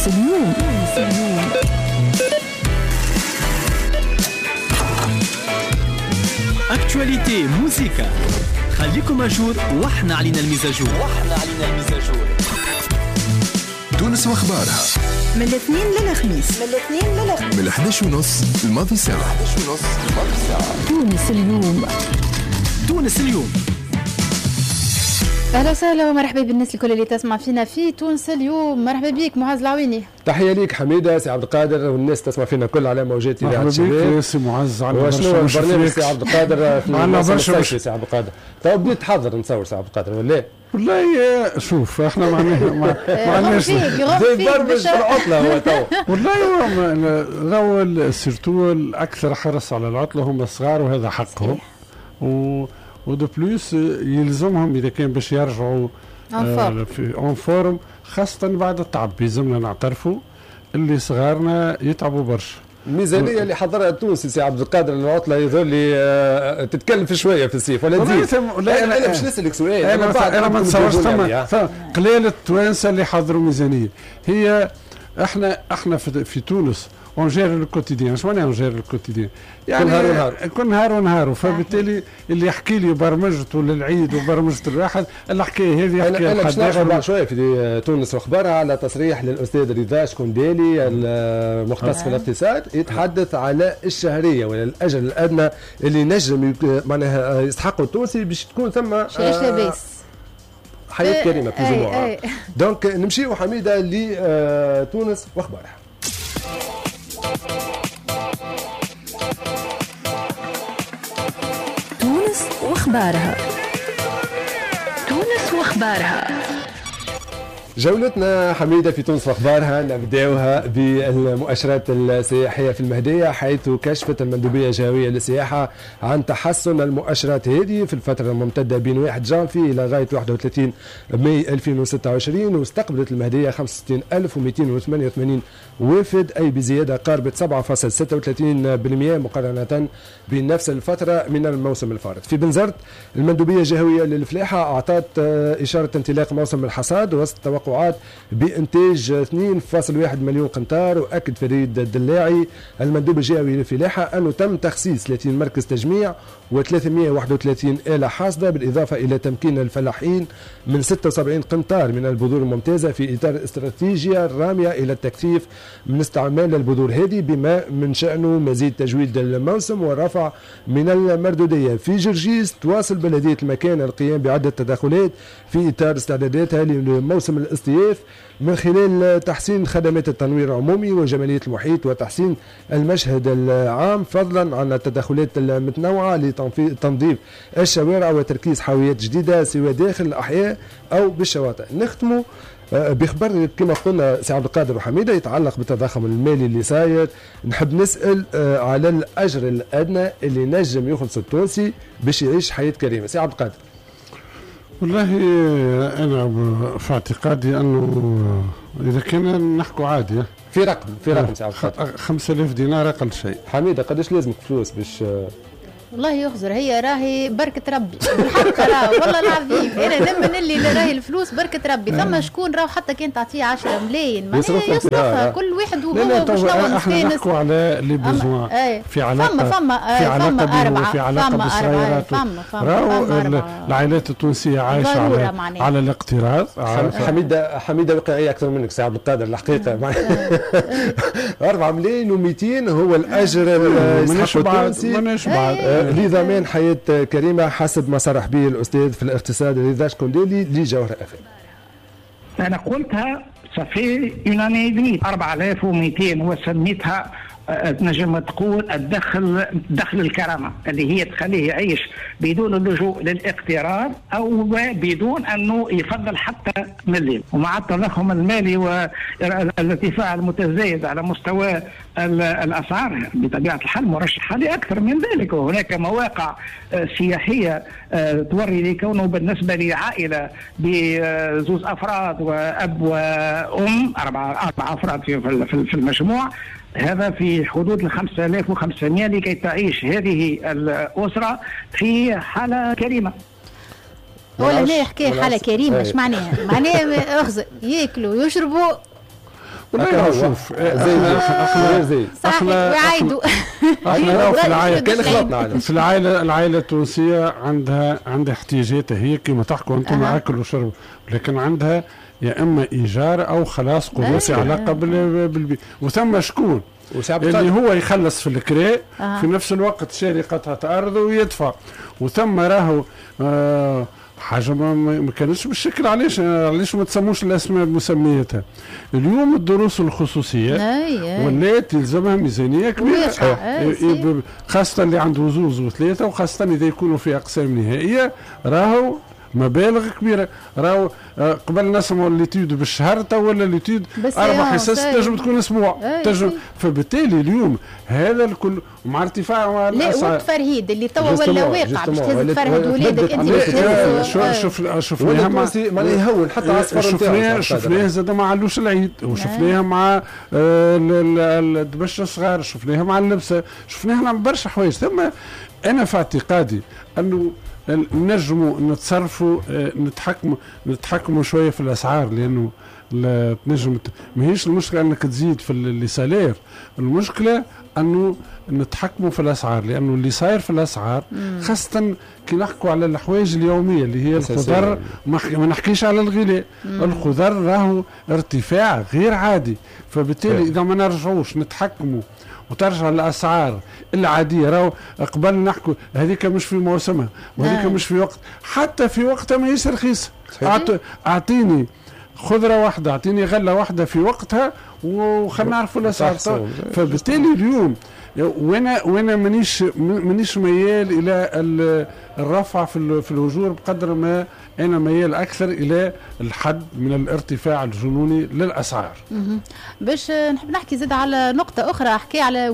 تونس اليوم. تونس اليوم. actualité موزيكا، خليكم à jour واحنا علينا ال mise à jour. تونس واخبارها من الاثنين للخميس، من 11:30 الماضي ساعة. تونس اليوم. تونس اليوم. اهلا وسهلا ومرحبا بالناس الكل اللي تسمع فينا في تونس اليوم. مرحبا بك معز العويني. تحية ليك حميده، سي عبد القادر، والناس تسمع فينا كل على موجات اذاعة الشباب. مرحبا بك سي معز. وشنو البرنامج سي عبد القادر في الموسم سي عبد القادر؟ تو بديت تحضر نتصور سي عبد القادر ولا؟ والله شوف احنا ما عندناش برمج في العطلة هو تو. والله راهو surtout الاكثر حرص على العطلة هم الصغار، وهذا حقهم. و de plus يلزمهم اذا كان باش يرجعوا في en forme، خاصة بعد التعب. يلزمنا نعترفوا اللي صغارنا يتعبوا برشا. الميزانية اللي حضرها التونسي سي عبد القادر للعطله يظهر لي تتكلف شوية في الصيف ولا تزيد؟ لا انا باش نسالك سؤال. انا ما نتصورش ثم قليل التوانسة اللي حضروا ميزانية. هي احنا في تونس on gère le quotidien. اش معناها on gère le quotidien؟ يعني كل نهار ونهار، كل نهار ونهار. فبالتالي اللي يحكي لي برمجته للعيد وبرمجة الواحد، الحكاية هذه يحكي. انا باش نرجع بعد شوية في تونس واخبارها على تصريح للاستاذ رضا شكوندالي المختص في الاقتصاد، يتحدث على الشهرية ولا الاجر الادنى اللي نجم معناها يستحقه التونسي باش تكون ثم لاباس حياة كريمة في الجمعة. donc نمشيو حميده لتونس واخبارها. تونس واخبارها. تونس واخبارها. جولتنا حميدة في تونس واخبارها نبداوها بالمؤشرات السياحية في المهدية، حيث كشفت المندوبية الجهوية للسياحة عن تحسن المؤشرات هذه في الفترة الممتدة بين 1 جانفي إلى غاية 31 ماي 2026، واستقبلت المهدية 65288 وافد، أي بزيادة قاربت 7.36% مقارنة بنفس الفترة من الموسم الفارط. في بنزرت المندوبية الجهوية للفلاحة أعطت إشارة انطلاق موسم الحصاد وسط توقعات بإنتاج 2.1 مليون قنطار. وأكد فريد الدلاعي المندوب الجهوي للفلاحة أنه تم تخصيص 30 مركز تجميع و331 آلة حاصدة، بالإضافة إلى تمكين الفلاحين من 76 قنطار من البذور الممتازة في إطار استراتيجية الرامية إلى التكثيف من استعمال البذور هذه بما من شأنه مزيد تجويد الموسم والرفع من المردودية. في جرجيس تواصل بلدية المكان القيام بعدة تدخلات في إطار استعداداتها لموسم الاصطياف من خلال تحسين خدمات التنوير العمومي وجمالية المحيط وتحسين المشهد العام، فضلا عن التدخلات المتنوعة لتنظيف الشوارع وتركيز حاويات جديدة سواء داخل الأحياء أو بالشواطئ. نختموا بخبر كما قلنا سي عبد القادر وحميدة يتعلق بالتضخم المالي اللي صاير. نحب نسأل على الأجر الأدنى اللي نجم يخلص التونسي باش يعيش حياة كريمة. سي عبد القادر. والله أنا في اعتقادي أنه إذا كان نحكوا عادي في رقم سي عبد القادر 5000 دينار أقل شيء. حميدة قداش لازمك فلوس باش؟ والله يخزر هي راهي بركة ربي بالحق، راه والله العظيم انا نمن اللي راهي الفلوس بركة ربي. ثم شكون راهو حتى كان تعطيه 10 ملايين معناها يصرفها كل واحد وهو شنو. احنا نحكوا على les besoins في علاقة فما في علاقة في علاقة بالصغيرات. راهو العائلات التونسية عايشة على الاقتراض. حميدة واقعية أكثر منك سي عبد القادر الحقيقة. 4,200,000 هو الأجر التونسي لضمان حياة كريمة حسب ما صرح به الأستاذ في الاقتصاد رضا شكوندالي لجوهرة أف ام. أنا قلتها ça fait une année et demie 4200 وسميتها تنجم تقول الدخل دخل الكرامة اللي هي تخليه يعيش بدون اللجوء للاقتراض او بدون انه يفضل حتى مليم. ومع التضخم المالي والارتفاع المتزايد على مستوى الاسعار بطبيعة الحال مرشحة لاكثر من ذلك. وهناك مواقع سياحية توري لكونه بالنسبة لعائلة بزوز افراد واب وام اربع افراد في المجموع، هذا في حدود 5500 لكي تعيش هذه الأسرة في حالة كريمة. ولا هنا حكاية حاله كريمة، اش معناها؟ معناها اخزر ياكلوا ويشربوا. والله شوف زي احنا وعايدوا احنا في العائلة كان خلطنا في العائلة التونسية عندها احتياجاتها هي كما تحكوا انتم، اكل وشرب، لكن عندها يا اما ايجار او خلاص قروض في علاقة بالبيت، وثم شكون اللي هو يخلص في الكراء في نفس الوقت شاري قطعه ارض ويدفع، وثم راهو حاجة ما كانتش بالشكل. علاش ما تسموش الاسماء بمسمياتها؟ اليوم الدروس الخصوصية ولات يلزمها ميزانية كبيرة، خاصة اللي عنده زوز وثلاثة، وخاصة اذا يكونوا في اقسام نهائية راهو مبالغ كبيرة. راهو قبل نسمعوا l'étude بالشهر، تو ولا l'étude 4 حصص تنجم تكون اسبوع تنجم. فبالتالي اليوم هذا الكل مع ارتفاع الاسعار، لا والتفرهيد اللي توا ولا واقع باش تهز تفرهد ولادك انت باش شفناها معناها يهون حتى على الصفر نتاعو. شفناها زاد مع علوش العيد، وشفناها مع الدبش الصغار، شفناها مع اللبسه، شفناها مع برشا حوايج. ثم انا في اعتقادي انه نجموا نتصرفوا، نتحكموا شوية في الاسعار، لانه تنجم ماهيش المشكلة انك تزيد في les salaires، المشكلة انه نتحكموا في الاسعار، لانه اللي صاير في الاسعار خاصة كي نحكوا على الحوايج اليومية اللي هي الخضر، ما نحكيش على الغلاء، الخضر راهو ارتفاع غير عادي. فبالتالي اذا ما نرجعوش نتحكموا وترجع الاسعار العادية، راهو قبل نحكوا هذيك مش في موسمها وهذيك مش في وقت، حتى في وقتها ماهيش رخيصة. اعطيني خضرة واحدة، اعطيني غله واحدة في وقتها وخلينا نعرفوا الاسعار. فبالتالي اليوم وانا مانيش ميال الى الرفع في الاجور بقدر ما انا ميال اكثر الى الحد من الارتفاع الجنوني للاسعار. باش نحب نحكي زاد على نقطة اخرى، احكي على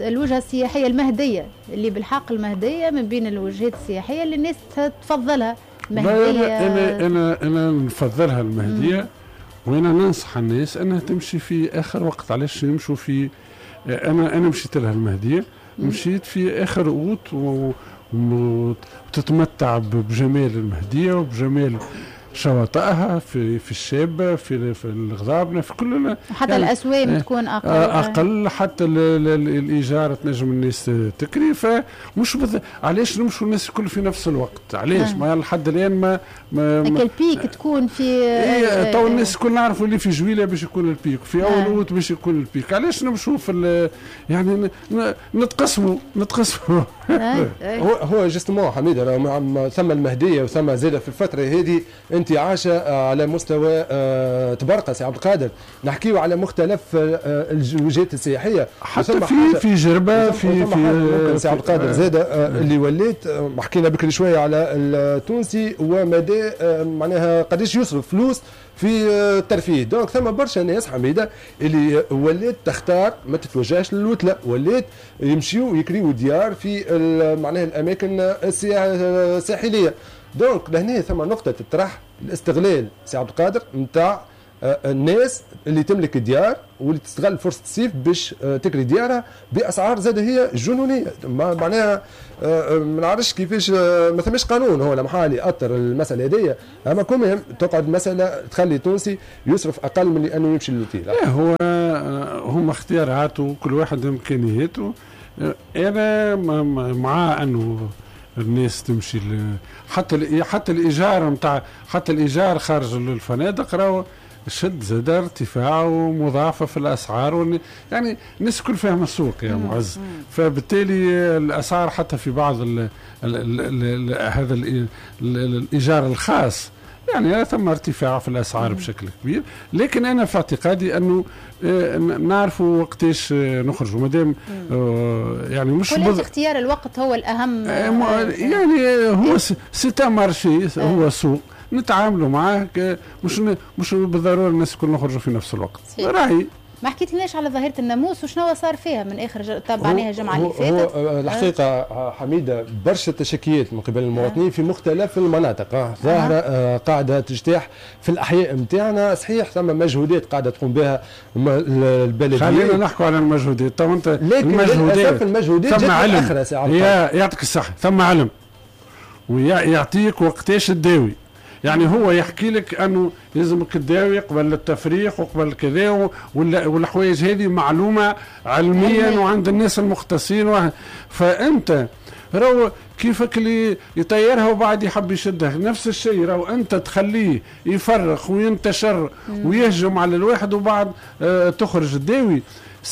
الوجهة السياحية المهدية، اللي بالحق المهدية من بين الوجهات السياحية اللي الناس تفضلها. مهديه انا انا نفضلها المهدية، وانا ننصح الناس انها تمشي في اخر وقت. علاش يمشوا في انا مشيت لها المهدية، مشيت في اخر اوت وتتمتع بجمال المهدية وبجمال شواطئها في الشابة، في الغضابنه، في كل، حتى يعني الاسوام تكون اقل، حتى الايجار تنجم الناس تكري. فمش علاش نمشوا الناس الكل في نفس الوقت؟ علاش ما لحد الان ما ال pic تكون في تو الناس الكل نعرفوا اللي في جويله باش يكون ال pic، في اول اوت باش يكون ال pic. علاش نمشوا في يعني نتقسموا هو justement حميده، ثم المهدية وثم زاده في الفترة هذه انت عاشه على مستوى تبرقه سي عبد القادر، نحكيو على مختلف الوجهات السياحية، حتى في جربه في سي عبد القادر زاده اللي وليت حكينا بكري شوية على التونسي ومدى معناها قداش يصرف فلوس في الترفيه. donc ثم برشا ناس حميده اللي ولات تختار ما تتوجهش للوتله، ولات يمشيو يكريو ديار في معناها الاماكن الساحلية. donc لهنا ثم نقطة تطرح، الاستغلال سي عبد القادر نتاع الناس اللي تملك ديار واللي تستغل فرصة الصيف باش تكري ديارها باسعار زاده هي جنونيه. معناها ما نعرفش كيفاش ما ثماش قانون هو لمحال يأثر المسالة هذيا، اما quand même تقعد مسالة تخلي التونسي يصرف اقل من انه يمشي للوتيل. هو هم اختياراته، كل واحد امكانياته. انا مع انه الناس تمشي حتى الايجار نتاع حتى الايجار خارج الفنادق راهو شد زاد ارتفاع ومضاعفه في الاسعار، يعني الناس الكل فاهمه السوق يا معز. فبالتالي الاسعار حتى في بعض ال ال ال هذا الايجار الخاص يعني ثم ارتفاع في الاسعار بشكل كبير. لكن انا في اعتقادي انه نعرفوا وقتاش نخرجوا مادام يعني مش اختيار الوقت هو الاهم. يعني هو c'est un marché، هو سوق نتعاملوا معاه، مش بالضرورة الناس الكل نخرجوا في نفس الوقت. راهي ما حكيت لناش على ظاهرة الناموس وشنو صار فيها من اخر تبعناها الجمعة اللي فاتت. هو الحقيقة حميدة برشا تشكيات من قبل المواطنين في مختلف المناطق، ظاهرة قاعدة تجتاح في الأحياء نتاعنا. صحيح ثم مجهودات قاعدة تقوم بها البلدية. خلينا نحكوا على المجهودات. تو انت لكن للأسف المجهودات ثم علم، يعطيك الصحة، ثم علم ويعطيك وقتاش تداوي، يعني هو يحكي لك انه لازمك تداوي قبل التفريخ وقبل كذا، والحوايج هذه معلومة علميا وعند الناس المختصين. فانت راهو كيفك اللي يطيرها وبعد يحب يشدها، نفس الشيء راهو انت تخليه يفرخ وينتشر ويهجم على الواحد وبعد تخرج الداوي.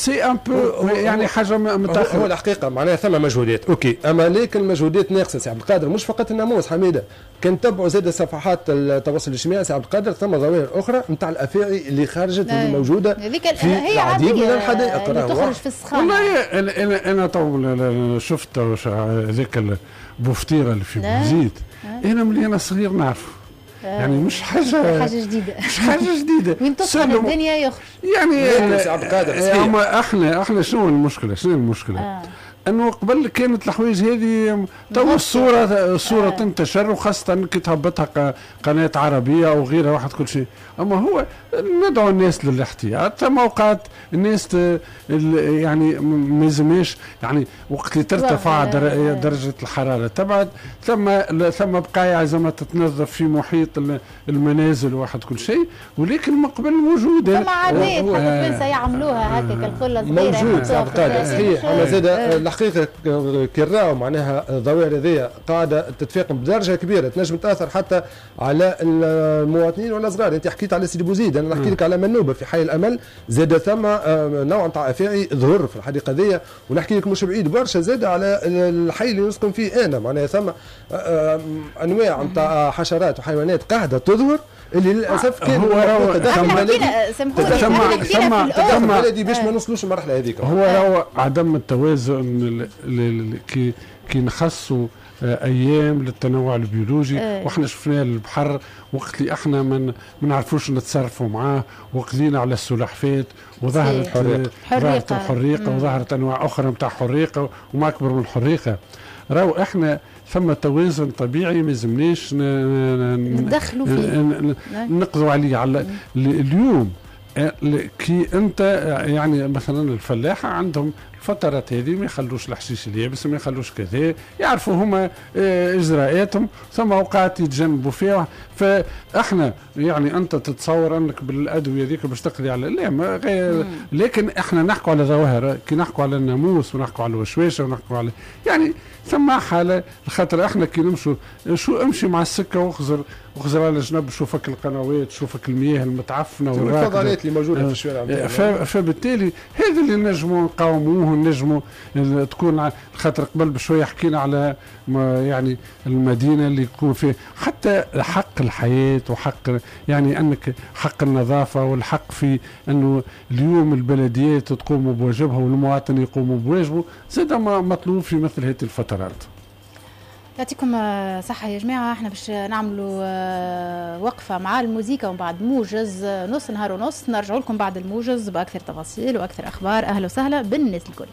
c'est un peu يعني حاجة متاخرة. هو الحقيقة معناها ثم مجهودات OK، اما لكن المجهودات ناقصه سي عبد القادر، مش فقط الناموس حميده، كان تبعوا زاد صفحات التواصل الاجتماعي سي عبد القادر، ثم ظواهر اخرى نتاع الافاعي اللي خرجت واللي موجودة في العديد من الحدائق اللي تخرج في السخانه. والله انا تو شفت هذاك البوفطيره اللي في بوزيد، انا ملي انا صغير نعرفه، يعني مش حاجة جديدة، مش حاجة جديدة. وين تسخن الدنيا يخرج يعني سي عبد القادر. احنا شنو المشكلة؟ شنو المشكلة؟ انه قبل كانت الحوايج هذه تو الصورة تنتشر، وخاصة كي تهبطها قناة عربية او غيرها واحد كل شيء. اما هو ندعو الناس للاحتياط. ثم اوقات الناس يعني ما يلزمش، يعني وقت اللي ترتفع درجه الحرارة تبعد، ثم بقايا زعما تتنظف في محيط المنازل واحد كل شيء، ولكن من قبل موجودة. ثم عادات حتى التوانسة يعملوها هكاك القلة صغيرة موجود سي عبد القادر صحيح. اما زاد الحقيقة كي راهو معناها الظواهر هذه قاعدة تتفاقم بدرجة كبيرة، تنجم تاثر حتى على المواطنين ولا صغار. انت حكيت على سيدي بوزيد، انا نحكي لك على منوبه في حي الامل، زاد ثم نوع نتاع افاعي ظهر في الحديقة ذي، ونحكي لك مش بعيد برشا زاد على الحي اللي نسكن فيه انا، معناها ثم انواع نتاع حشرات وحيوانات قاعدة تظهر اللي للاسف كان هو ثم بلدي باش ما نوصلوش المرحلة هذيك. هو عدم التوازن كي نخصوا ايام للتنوع البيولوجي. واحنا شفناه البحر وقت اللي احنا ما نعرفوش نتصرفوا معاه، وقضينا على السلحفات وظهرت الحريقه وظهرت انواع اخرى نتاع حريقة وما اكبر من الحريقه. راهو احنا ثم توازن طبيعي ما يلزمناش ندخلوا فيه، نقضوا عليه. على اليوم كي انت يعني مثلا الفلاحة عندهم الفترات هذه ما يخلوش الحشيش اليابس، ما يخلوش كذا، يعرفوا هما اجراءاتهم، ثم اوقات يتجنبوا فيها. فاحنا يعني انت تتصور انك بالادوية ذيك باش تقضي على لا ما غير، لكن احنا نحكوا على ظواهر، كي نحكوا على الناموس ونحكوا على الوشواشه ونحكوا على يعني ثم حاله، خاطر احنا كي نمشوا شو امشي مع السكة واخزر على جنب، شوفك القنوات، شوفك المياه المتعفنه والفضلات اللي موجودة في الشوارع. فبالتالي هذا اللي نجموا نقاوموه، نجموا تكون خاطر قبل بشوية حكينا على يعني المدينة اللي يكون فيه حتى حق الحياة وحق يعني انك حق النظافة والحق في انه اليوم البلديات تقوم بواجبها والمواطن يقوم بواجبه، زاد مطلوب في مثل هذه الفترات. يعطيكم صحة يا جماعة. احنا باش نعملوا وقفة مع الموزيكا ومن بعد موجز نص نهار ونص، نرجع لكم بعد الموجز بأكثر تفاصيل وأكثر أخبار. أهلا وسهلا بالناس الكل.